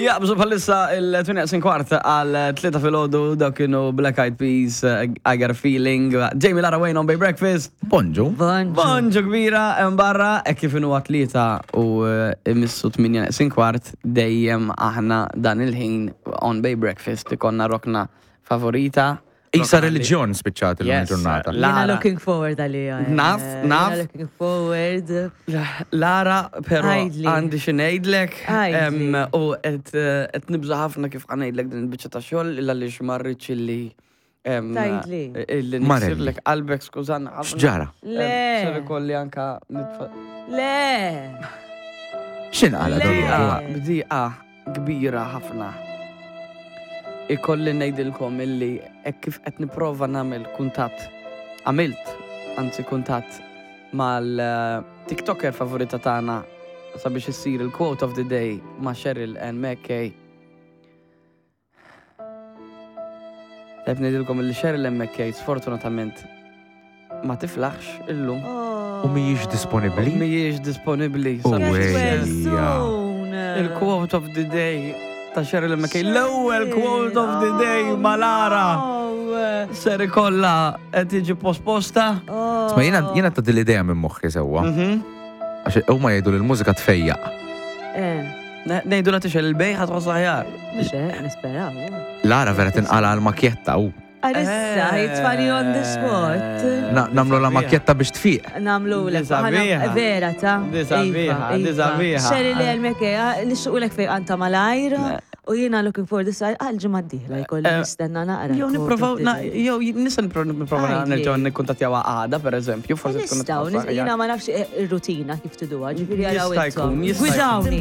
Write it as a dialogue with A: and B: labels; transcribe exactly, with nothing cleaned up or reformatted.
A: Jaqbżu bħalissa il-tmienja kwart għal tlieta filgħodu. Dak kienu Black Eyed Peas, uh, "I Got a Feeling". Jamie, Lara, Wayne on Bay Breakfast.
B: Bonġu.
C: Bonġu.
A: Bonġu kbira hemm barra, e kif inhu tlieta u eh, imissu tmienja neqsin kwart, dejjem aħna dan il-ħin on Bay Breakfast ikollna rokna favorita.
B: Isa
A: Rokna li-
B: reliġjon spiċċat il
A: Yes.
B: ġurnata.
A: Lara.
C: Jiena looking forward għalija. eh.
A: Naf, naf.
C: Jiena looking forward.
A: Lara, pero
C: Għidli.
A: għandi xi ngħidlek
C: Għidli.
A: em, u qed eh, qed nibża ħafna kif ħa ngħidlek din il-biċċa ta' xogħol illa li xmarriċ illi em,
C: Tgħidli.
A: illi
B: Marelli.
A: niksirlek qalbek, skużanna ħafna.
B: X'ġara?
C: Le.
A: Ser ikolli anka nitfa'
C: Le.
B: X'inqala
C: Le.
B: dal
A: Bdiqa kbira ħafna. Ikolli ngħidilkom illi hekk kif qed nipprova nagħmel kuntatt, għamilt, anzi, kuntatt mal-TikToker favorita tagħna sabiex issir il-quote of the day ma' Cheryl and McKay. Qed ngħidilkom illi Cheryl and McKay sfortunatament ma tiflaħx illum.
C: Oh.
B: U mhijiex disponibbli?
A: Mhijiex disponibbli
B: U
A: sabiex
C: Get
B: ejja.
C: well soon.
A: il-quote of the day ta' Cheryl McKay. L-ewwel quote of the day ma' Lara.
C: Oh.
A: Ser ikollha qed tiġi posposta.
C: Oh.
B: Ma jiena jiena ta' l-idea minn moħħi sewwa.
A: Mhm.
B: Għax huma jgħidu li l-mużika tfejjaq.
C: Eh,
A: Ngħidu la tixgħel il-bej, ħa tħoss aħjar.
C: mhux hekk, nisperaw.
B: Lara vera tinqala għal makjetta u
C: Għalissa, jitfani on the spot.
B: Na- Nagħmlu la
A: Sabiħa.
B: makjetta biex tfiq.
C: Nagħmlu l
A: Di sabiħa.
C: Vera ta'
A: Di sabiħa,
C: Iva,
A: di
C: iva.
A: sabiħa.
C: Xeri li għal-meke, nixuqlek fejqan ta' malajr. U jiena looking forward issa għal-ġimgħa d-dieħla jkolli
A: Eh,
C: nistenna naqra.
A: Jew nipprovaw, jew nista' nipprova
C: Għidli.
A: nerġgħu nikkuntattjaw għada, per eżempju, forsi tkun
C: Nistgħu,
A: tħoss aħjar.
C: jiena ma nafx ir-rutina kif tiduha, ġifieri għaraw
A: Jista' jkun,
C: intom.
A: jista' jkun.
C: Gwidawni.